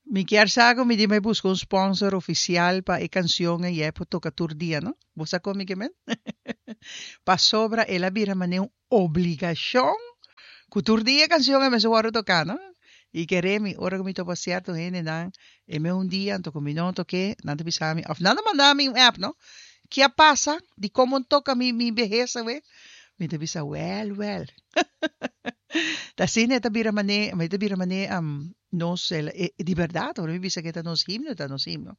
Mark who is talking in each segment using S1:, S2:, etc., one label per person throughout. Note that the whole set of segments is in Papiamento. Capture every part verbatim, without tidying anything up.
S1: Mi kier sa ku mi di bai buska un sponsor ofisial pa e kansion ei e por toka tur dia, no? Bo sa kon mi ke men? Pasobra el a bira manera un obligashon ku tur dia e kansion ei mester wòrdu toká, no? I kere mi, ora ku mi topa sierto hendenan, e me un dia anto ku mi no tok'é, nan ta bisa mi, òf nan ta manda mi un app, no? Ke a pasa? Dikon bo no toka mi mi behes awe? Mi ta bisa, wèl, wèl. Ta asina e ta bira mané, e ta bira mané nos, e di bèrdat, ora mi bisa ku e ta nos himno, e ta nos himno.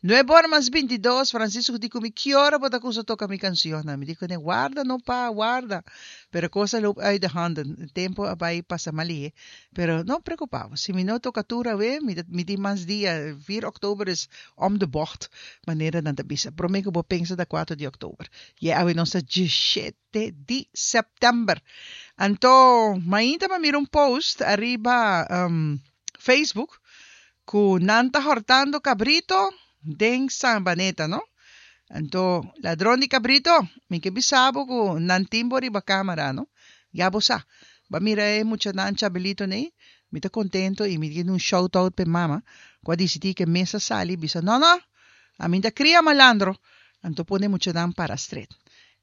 S1: Nuebe ora mas binti dos, Francisco di ku mi, Ki ora bo ta kusa toka mi kansionnan? Mi di kuné, Warda no pa, warda. Pero kos a loop uit de handen, tempu a bai pasa malihé. Pero no preokupá bo, si mi no toka tur awe, mi ta mi tin mas dia, vier òktober is om de bocht, manera nan ta bisa. Promé ku bo pensa ta kuater di òktober. Ye awe nos ta diesshete di sèptèmber. Anto mainta mi a mira un post ariba Facebook ku nan ta hortando kabrito den Sabaneta no. Anto ladron di kabrito mi ke bisa bo ku nan tin bo riba kamera no. Ya bo sa. Bo a mira e muchanan chabelito nei. Mi ta kontento i mi tin un shout out pa e mama ku a disidí ku e mes a sali bisa no no ami ta kria malandro. Anto pone e muchanan para stret.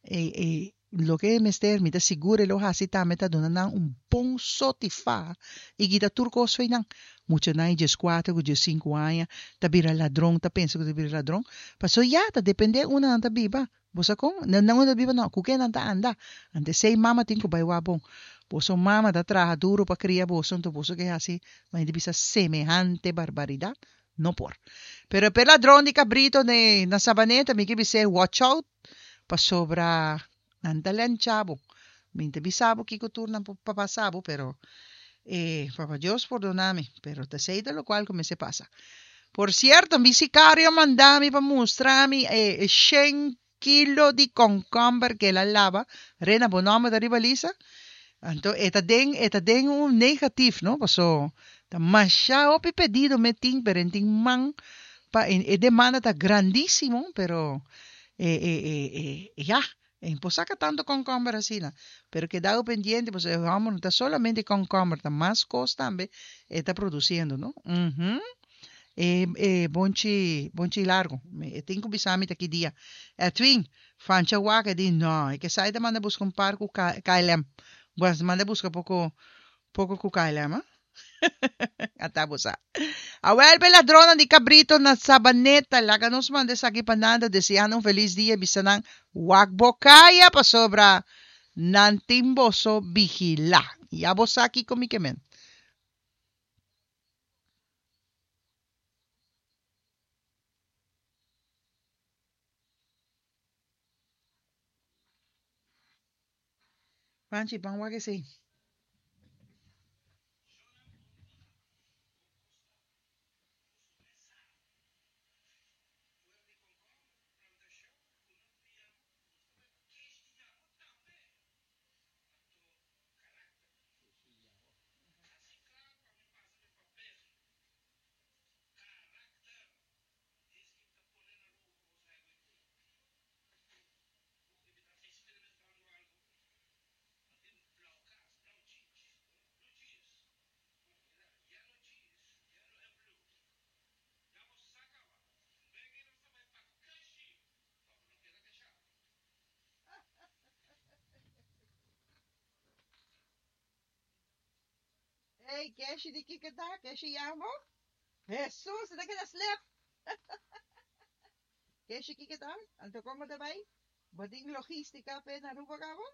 S1: E e Loke e mester, mi ta sigur e lo hasi tambe ta duna nan un bon sotifá i kita tur kos fo'i nan. Muchanan di dieskuater ku diesinku aña ta bira ladron, ta pensa ku ta bira ladron, pasobra ya ta dependé unda nan ta biba. Bo sa kon? Nan unda ta biba no, ku ken nan ta anda. Anto esei mama tin ku bai wak bon. Boso mama ta traha duru pa kria boso, anto boso ke hasi manera di bisa semehante barbaridat? No por. Pero p'e ladron di kabrito na Sabaneta mi ke bis'é watch out. Pasobra nan ta lencha bo. Mi ta bisa bo kiko tur nan por pasa bo, pero e Papa Dios pordona mi, pero ta esei ta lokual ku mester pasa. Por sierto, mi sikario a manda mi pa mustra mi e shen kilo di konkomber ku el a laba. Rena, bo nòmber ta riba lista? Anto e ta den e ta den un negatif, no? Paso ta masha hopi pedido mi tin, pero e tin man pa e demanda ta grandísimo, pero E, e, e, e, ya, e por saca tanto concomber asina. Pero queda pendiente, pues e homber no ta solamente concomber, ta mas cos tambe e ta produciendo, no? Mhm. E, e bonchi, bonchi largo. E tin cu bisa mi ta ki dia. Edwin, Fancha wak e di, no, e ke sa e ta manda busca un par cu K L M. Pues manda busca poco, poco cu K L M, ah. Ata bo sa. Awel p'e ladronnan di kabrito na Sabaneta, laga nos manda esaki pa nan ta deseando un felis dia i bisa nan wak bo kaya pasobra nan tin boso vigilá. Ya bo sa kiko mi ke men. Panchi, ban wak esei. Ey, keshi di kiko ta? Keshi yamo? Hesus, e ta keda slep! Keshi kiko ta? Anto como ta bay? Bo tin logistica p'e na Aruba cabo?